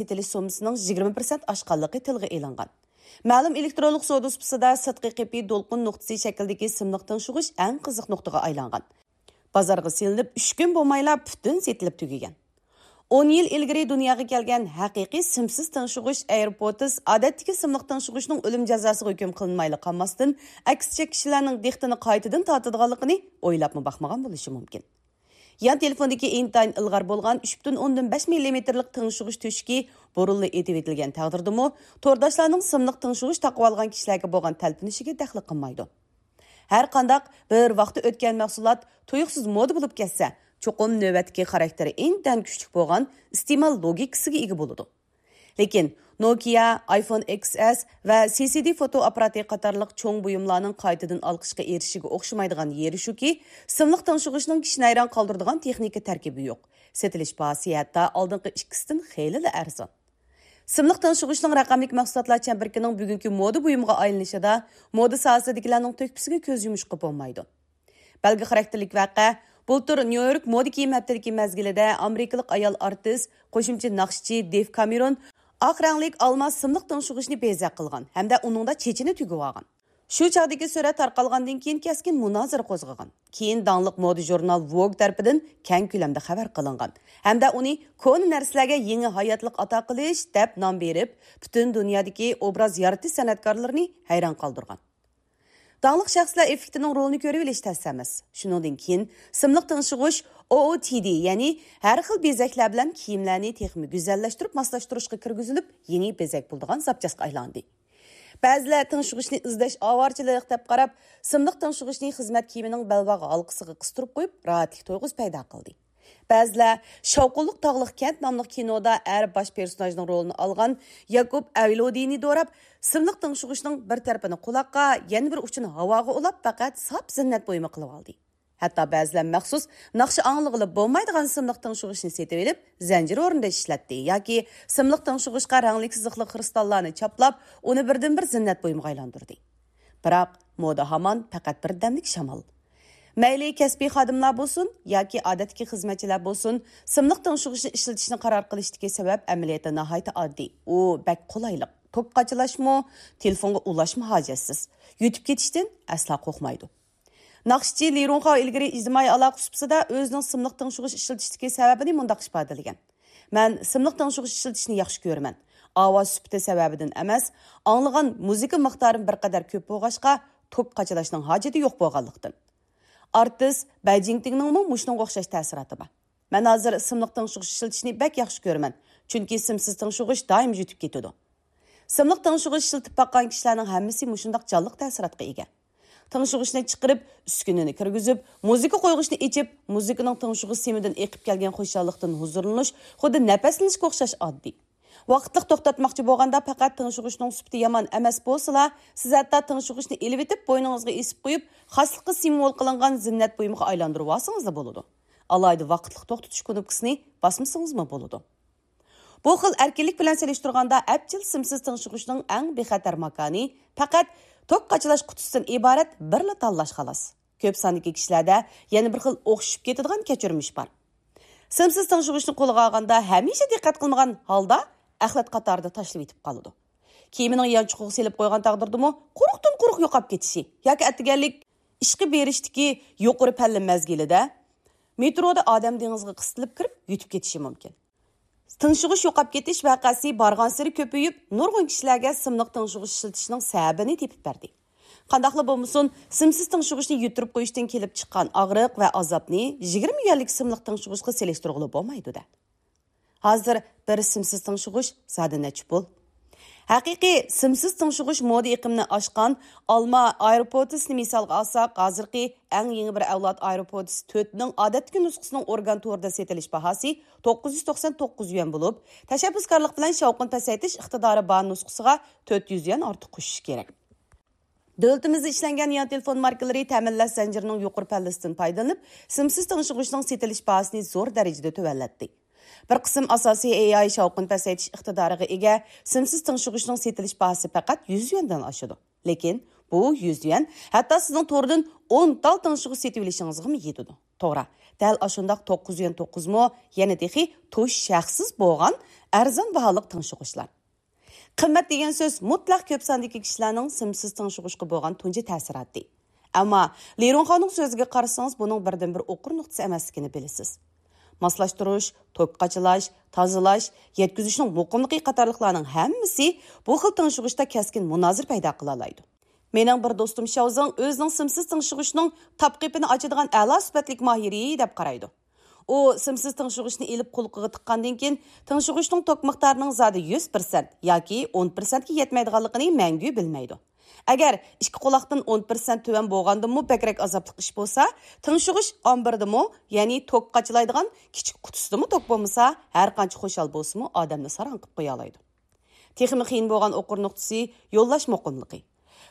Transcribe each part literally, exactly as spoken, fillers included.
سېتىلىش سوممىسىنىڭ يىگىرمە پىرسەنت ئاشقانلىقى تىلغا ئېلىنغان. مەلۇم ئېلېكترونلۇق سودا سۇپىسىدا سىرتقى قېپى دولقۇن نۇقتىسى شەكلىدىكى سىملىق تىڭشىغۇچ ئەڭ قىزىق نۇقتىغا ئايلانغان. بازارغا سېلىنىپ ئۈچ كۈن بولمايلا پۈتۈن سېتىلىپ تۈگىگەن. ئون يىل ئىلگىرى دۇنياغا كەلگەن ھەقىقىي سىمسىز تىڭشىغۇچ ئايروپودس ئادەتتىكى سىملىق تىڭشىغۇچنىڭ ئۆلۈم جازاسىغا ھۆكۈم قىلىنمايلا قالماستىن، ئەكسىچە كىشىلەرنىڭ دىققىتىنى قايتىدىن تارتىدىغانلىقىنى ئويلاپمۇ باقمىغان بولۇشى مۇمكىن. يان تېلېفوندىكى ئىنتايىن ئىلغار بولغان ئۈچ پۈتۈن ئوندىن بەش مىللىمېتىرلىق تىڭشىغۇچ تۆشۈكى بۇرۇنلا ئېتىۋېتىلگەن تەقدىردىمۇ، تورداشلارنىڭ سىملىق تىڭشىغۇچ تاقىۋالغان كىشىلەرگە بولغان تەلپۈنۈشىگە دەخلى قىلمايدۇ. ھەرقانداق بىر ۋاقتى ئۆتكەن مەھسۇلات تۇيۇقسىز مودا بولۇپ كەتسە، چوقۇم نۆۋەتتىكى خاراكتېرى ئىنتايىن كۈچلۈك بولغان ئىستېمال لوگىكىسىگە ئىگە بولىدۇ. لېكىن نوكىيا، ئايفون ئېكس ئېس ۋە سى سى دى فوتو ئاپپاراتى قاتارلىق چوڭ بۇيۇملارنىڭ قايتىدىن ئالقىشقا ئېرىشىشىگە ئوخشىمايدىغان يېرى شۇكى، سىملىق تىڭشىغۇچنىڭ كىشىنى ھەيران قالدۇرىدىغان تېخنىكا تەركىبى يوق. سېتىلىش باھاسى ھەتتا ئالدىنقى ئىككىسىدىن خېلىلا ئەرزان. سىملىق تىڭشىغۇچنىڭ رەقەملىك مەھسۇلاتلار چەمبىرىكىنىڭ بۈگۈنكى مودا بۇيۇمىغا ئايلىنىشىدا مودا ساھەسىدىكىلەرنىڭ تۆھپىسىگە كۆز يۇمۇشقا بولمايدۇ. بەلگە خاراكتېرلىك ۋەقە، بۇلتۇر نيۇ يورك مودا كىيىم ھەپتىلىكى مەزگىلىدە ئامېرىكىلىق ئايال ئارتىس، قوشۇمچە ناخشىچى دېف كامېرون ئاق رەڭلىك ئالما سىملىق تىڭشىغۇچنى بېزەك قىلغان ھەمدە ئۇنىڭدا چېچىنى تۈگۈۋالغان. شۇ چاغدىكى سۈرەت تارقالغاندىن كېيىن كەسكىن مۇنازىرە قوزغىغان. كېيىن داڭلىق مودا ژۇرنال ۋوگ تەرىپىدىن كەڭ كۆلەمدە خەۋەر قىلىنغان ھەمدە ئۇنى كونا نەرسىلەرگە يېڭى ھاياتلىق ئاتا قىلىش دەپ نام بېرىپ، پۈتۈن دۇنيادىكى ئوبراز يارىتىش سەنئەتكارلىرىنى ھەيران قالدۇرغان. داڭلىق شەخسلەر ئېففېكتىنىڭ رولىنى كۆرۈۋېلىش تەس ئەمەس. شۇنىڭدىن كېيىن سىملىق تىڭشىغۇچ ئو ئو تى دى، يەنى ھەر خىل بېزەكلەر بىلەن كىيىملەرنى تېخىمۇ گۈزەللەشتۈرۈپ ماسلاشتۇرۇشقا كىرگۈزۈلۈپ، يېڭى بېزەك بولىدىغان زاپچاسقا ئايلاندى. بەزىلەر تىڭشىغۇچنى ئىزدەش ئاۋارىچىلىق دەپ قاراپ، سىملىق تىڭشىغۇچنى خىزمەت كىيىمىنىڭ بەلباغ ھالقىسىغا قىستۇرۇپ قويۇپ، راھەتلىك تۇيغۇسى پەيدا قىلدى. بەزىلەر شاۋقۇنلۇق تاغلىق كەنت ناملىق كىنودا ئەر باش پېرسوناژنىڭ رولىنى ئالغان ياكۇب ئەۋلودىنى دوراپ، سىملىق تىڭشىغۇچنىڭ بىر تەرىپىنى قۇلاققا، يەنە بىر ئۇچىنى ھاۋاغا ئۇلاپ، پەقەت ساپ زىننەت بۇيۇمى قىلىۋالدى. ھەتتا بەزىلەر مەخسۇس ناخشا ئاڭلىغىلى بولمايدىغان سىملىق تىڭشىغۇچنى سېتىۋېلىپ، زەنجىر ئورنىدا ئىشلەتتى ياكى سىملىق تىڭشىغۇچقا رەڭلىك سىزىقلىق خرۇستاللارنى چاپلاپ، ئۇنى بىردىنبىر زىننەت بۇيۇمىغا ئايلاندۇردى. بىراق، مودا ھامان پەقەت بىر دەملىك شامال. مەيلى كەسپىي خادىملار بولسۇن ياكى ئادەتتىكى خىزمەتچىلەر بولسۇن، سىملىق تىڭشىغۇچنى ئىشلىتىشنى قارار قىلىشتىكى سەۋەب ئەمەلىيەتتە ناھايىتى ئاددىي. ئۇ بەك قولايلىق. توك قاچىلاشمۇ، تېلېفونغا ئۇلاشمۇ ھاجەتسىز. يۈتۈپ كېتىشتىن ئەسلا قورقمايدۇ. ناخشىچى لى رۇڭخاۋ ئىلگىرى ئىجتىمائىي ئالاقە سۇپىسىدا ئۆزىنىڭ سىملىق تىڭشىغۇچ ئىشلىتىشتىكى سەۋەبىنى مۇنداق ئىپادىلىگەن: مەن سىملىق تىڭشىغۇچ ئىشلىتىشنى ياخشى كۆرىمەن. ئاۋاز سۈپىتى سەۋەبىدىن ئەمەس، ئاڭلىغان مۇزىكا مىقدارىم بىر قەدەر كۆپ بولغاچقا، توك قاچىلاشنىڭ ھاجىتى يوق بولغانلىقتىن. ئارتىس بەي جىڭتىڭنىڭمۇ مۇشۇنىڭغا ئوخشاش تەسىراتى بار. مەن ھازىر سىملىق تىڭشىغۇچ ئىشلىتىشنى بەك ياخشى كۆرىمەن، چۈنكى سىمسىز تىڭشىغۇچ دائىم يۈتۈپ كېتىدۇ. سىملىق تىڭشىغۇچ ئىشلىتىپ باققان كىشىلەرنىڭ ھەممىسى مۇشۇنداق جانلىق تەسىراتقا ئىگە. تىڭشىغۇچنى چىقىرىپ، ئۈسكۈنىنى كىرگۈزۈپ، مۇزىكا قويغۇچنى ئېچىپ، مۇزىكىنىڭ تىڭشىغۇچ سىمىدىن ئېقىپ كەلگەن خۇشاللىقتىن ھۇزۇرلىنىش خۇددى نەپەسلىنىشكە ئوخشاش ئاددىي. ۋاقىتلىق توختاتماقچى بولغاندا پەقەت تىڭشىغۇچنىڭ سۈپىتى يامان ئەمەس بولسىلا، سىز ھەتتا تىڭشىغۇچنى ئېلىۋېتىپ، بوينىڭىزغا ئېسىپ قويۇپ، خاسلىققا سىمۋول قىلىنغان زىننەت بۇيۇمىغا ئايلاندۇرۇۋالسىڭىزلا بولىدۇ. ئالاھىدە ۋاقىتلىق توختىتىش كۇنۇپكىسىنى باسمىسىڭىزمۇ بولىدۇ. بۇ خىل ئەركىنلىك بىلەن سېلىشتۇرغاندا، ئەپچىل سىمسىز تىڭشىغۇچنىڭ ئەڭ بىخەتەر ماكانى پەقەت توك قاچىلاش قۇتىسىدىن ئىبارەت بىرلا تاللاش خالاس. كۆپ ساندىكى كىشىلەردە يەنە بىر خىل ئوخشىشىپ كېتىدىغان كەچۈرمىش بار. سىمسىز تىڭشىغۇچنى قولىغا ئالغاندا ھەمىشە دىققەت قىلمىغان ھالدا ئەخلەت قاتارىدا تاشلىۋېتىپ قالىدۇ. كىيىمىنىڭ يانچۇقىغا سېلىپ قويغان تەقدىردىمۇ قۇرۇقتىن قۇرۇق يوقاپ كېتىشى ياكى ئەتىگەنلىك ئىشقا بېرىشتىكى يۇقىرى پەللە مەزگىلىدە مېترودا ئادەم دېڭىزىغا قىستىلىپ كىرىپ يۈتۈپ كېتىشى مۇمكىن. تىڭشىغۇچ يوقاپ كېتىش ۋەقەسى بارغانسېرى كۆپىيىپ، نۇرغۇن كىشىلەرگە سىملىق تىڭشىغۇچ ئىشلىتىشنىڭ سەۋەبىنى تېپىپ بەردى. قانداقلا بولمىسۇن، سىمسىز تىڭشىغۇچنى يۈتتۈرۈپ قويۇشتىن كېلىپ چىققان ئاغرىق ۋە ئازابنى يىگىرمە يۈەنلىك سىملىق تىڭشىغۇچقا سېلىشتۇرغىلى بولمايدۇ-دە. ھازىر بىر سىمسىز تىڭشىغۇچ زادى نەچچە پۇل؟ ھەقىقىي سىمسىز تىڭشىغۇچ مودا ئېقىمىنى ئاشقان ئالما ئايروپودسنى مىسالغا ئالساق، ھازىرقى ئەڭ يېڭى بىر ئەۋلاد ئايروپودس تۆتنىڭ ئادەتتىكى نۇسخىسىنىڭ ئورگان تورىدا سېتىلىش باھاسى توققۇز يۈز توقسان توققۇز يۈەن بولۇپ، تەشەببۇسكارلىق بىلەن شاۋقۇن پەسەيتىش ئىقتىدارى بار نۇسخىسىغا تۆت يۈز يۈەن ئارتۇق قوشۇش كېرەك. دۆلىتىمىزدە ئىشلەنگەن يان تېلېفون ماركىلىرى تەمىنلەش زەنجىرىنىڭ يۇقىرى پەللىسىدىن پايدىلىنىپ، سىمسىز تىڭشىغۇچنىڭ سېتىلىش باھاسىنى زور دەرىجىدە تۆۋەنلەتتى. بىر قىسىم ئاساسىي ئېي ئاي شاۋقۇن پەسەيتىش ئىقتىدارىغا ئىگە سىمسىز تىڭشىغۇچنىڭ سېتىلىش باھاسى پەقەت يۈز يۈەندىن ئاشىدۇ. لېكىن بۇ يۈز يۈەن ھەتتا سىزنىڭ توردىن ئون تال تىڭشىغۇچ سېتىۋېلىشىڭىزغىمۇ يېتىدۇ. توغرا، دەل ئاشۇنداق توققۇز يۈەن توققۇزمۇ، يەنە تېخى توشۇش ھەقسىز بولغان ئەرزان باھالىق تىڭشىغۇچلار. قىممەت دېگەن سۆز مۇتلەق كۆپ ساندىكى كىشىلەرنىڭ سىمسىز تىڭشىغۇچقا بولغان تۇنجى تەسىراتى. ئەمما لىرۇڭخاۋنىڭ سۆزىگە قارىسىڭىز، بۇنىڭ بىردىنبىر ئوقۇر نۇقتىسى ئەمەسلىكىنى بىلىسىز. ماسلاشتۇرۇش، توك قاچىلاش، تازىلاش، يەتكۈزۈشنىڭ مۇقىملىقى قاتارلىقلارنىڭ ھەممىسى بۇ خىل تىڭشىغۇچتا كەسكىن مۇنازىرە پەيدا قىلالايدۇ. مېنىڭ بىر دوستۇم شياۋزېڭ ئۆزىنىڭ سىمسىز تىڭشىغۇچنىڭ تاپ قېپىنى ئاچىدىغان ئەلا سۈپەتلىك ماھىرى دەپ قارايدۇ. ئۇ سىمسىز تىڭشىغۇچنى ئېلىپ قۇلىقىغا تىققاندىن كېيىن، تىڭشىغۇچنىڭ توك مىقدارىنىڭ زادى يۈز پىرسەنت ياكى ئون پىرسەنتكە يەتمەيدىغانلىقىنى مەڭگۈ بىلمەيدۇ. ئەگەر ئىككى قۇلاقتىن ئون پىرسەنت تۆۋەن بولغاندىمۇ بەكرەك ئازابلىق ئىش بولسا، تىڭشىغۇچ ئامبىرىدىمۇ، يەنى توك قاچىلايدىغان كىچىك قۇتىسىدىمۇ توك بولمىسا، ھەر قانچە خۇشال بولسىمۇ، ئادەمنى ساراڭ قىلىپ قويالايدۇ. تېخىمۇ قىيىن بولغان ئوقۇر نۇقتىسى يوللاش مۇقىملىقى.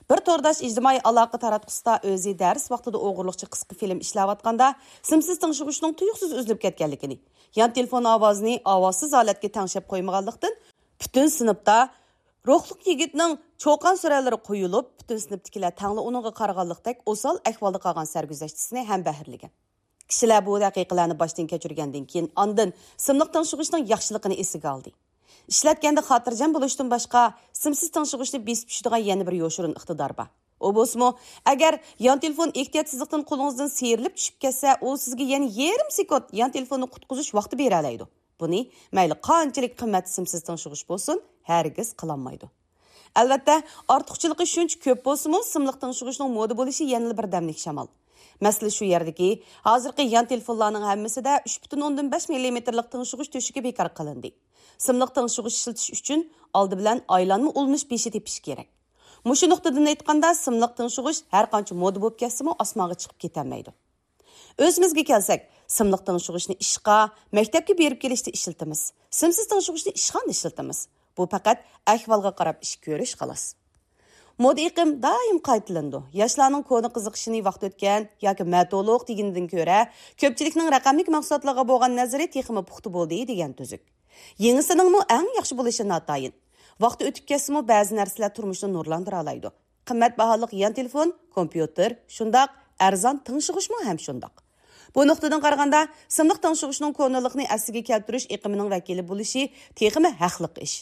بىر تورداش ئىجتىمائىي ئالاقە تاراتقۇسىدا ئۆزى دەرس ۋاقتىدا ئوغرىلىقچە قىسقا فىلىم ئىشلەۋاتقاندا، سىمسىز تىڭشىغۇچنىڭ تۇيۇقسىز ئۈزۈلۈپ كەتكەنلىكىنى، يان تېلېفون ئاۋازىنى ئاۋازسىز ھالەتكە تەڭشەپ قويمىغانلىقتىن، پۈتۈن سىنىپتا روھلۇق يىگىتنىڭ چۇقان سۈرەنلىرى قويۇلۇپ، پۈتۈن سىنىپتىكىلەر تەڭلا ئۇنىڭغا قارىغانلىقتەك ئوسال ئەھۋالدا قالغان سەرگۈزەشتىسىنى ھەمبەھىرلىگەن. كىشىلەر بۇ ۋەقەلەرنى باشتىن كەچۈرگەندىن كېيىن، ئاندىن سىملىق تىڭشىغۇچنىڭ ياخشىلىقىنى ئېسىگە ئالدى. ئىشلەتكەندە خاتىرجەم بولۇشتىن باشقا، سىمسىز تىڭشىغۇچنى بېسىپ چۈشىدىغان يەنە بىر يوشۇرۇن ئىقتىدار بار. ئۇ بولسىمۇ، ئەگەر يان تېلېفون ئېھتىياتسىزلىقتىن قولىڭىزدىن سىيرىلىپ چۈشۈپ كەتسە، ئۇ سىزگە يەنە يېرىم سېكۇنت يان تېلېفوننى قۇتقۇزۇش ۋاقتى بېرەلەيدۇ. بۇنى مەيلى قانچىلىك قىممەت سىمسىز تىڭشىغۇچ بولسۇن، ھەرگىز قىلالمايدۇ. ئەلۋەتتە، ئارتۇقچىلىقى شۇنچە كۆپ بولسىمۇ، سىملىق تىڭشىغۇچنىڭ مودا بولۇشى يەنىلا بىر دەملىك شامال. مەسىلە شۇ يەردىكى، ھازىرقى يان تېلېفونلارنىڭ ھەممىسىدە ئۈچ پۈتۈن ئوندىن بەش مىللىمېتىرلىق تىڭشىغۇچ تۆشۈكى بىكار قىلىندى. سىملىق تىڭشىغۇچ ئىشلىتىش ئۈچۈن ئالدى بىلەن ئايلانما ئۇلىنىش بېشى تېپىش كېرەك. مۇشۇ نۇقتىدىن ئېيتقاندا، سىملىق تىڭشىغۇچ ھەر قانچە مودا بولۇپ كەتسىمۇ، ئاسمانغا چىقىپ كېتەلمەيدۇ. ئۆزىمىزگە كەلسەك، سىملىق تىڭشىغۇچنى ئىشقا، مەكتەپكە بېرىپ كېلىشتە ئىشلىتىمىز. سىمسىز تىڭشىغۇچنى ئىشخانىدا ئىشلىتىمىز. بۇ پەقەت ئەھۋالغا قاراپ ئىش كۆرۈش، خالاس. مودا ئېقىم دائىم قايتىلىنىدۇ. ياشلارنىڭ كونا قىزىقىشىنى ۋاقتى ئۆتكەن ياكى مەتۇلۇق دېگىنىدىن كۆرە، كۆپچىلىكنىڭ رەقەملىك مەھسۇلاتلارغا بولغان نەزىرى تېخىمۇ پۇختا بولدى دېگەن تۈزۈك. يېڭىسىنىڭمۇ ئەڭ ياخشى بولۇشى ناتايىن. ۋاقتى ئۆتۈپ كەتسىمۇ، بەزى نەرسىلەر تۇرمۇشنى نۇرلاندۇرالايدۇ. قىممەت باھالىق يان تېلېفون، كومپيۇتېر شۇنداق، ئەرزان تىڭشىغۇچمۇ ھەم شۇنداق. بۇ نۇقتىدىن قارىغاندا، سىملىق تىڭشىغۇچنىڭ كونىلىقنى ئەسلىگە كەلتۈرۈش ئېقىمىنىڭ ۋەكىلى بولۇشى تېخىمۇ ھەقلىق ئىش.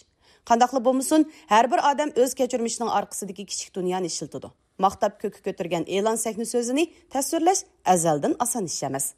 قانداقلا بولمىسۇن، ھەر بىر ئادەم ئۆز كەچۈرمىشىنىڭ ئارقىسىدىكى كىچىك دۇنيانى ئىشلىتىدۇ. ماختاپ كۆككە كۆتۈرگەن ئېلان سەھنە سۆزىنى تەسۋىرلەش ئەزەلدىن ئاسان ئىش ئەمەس.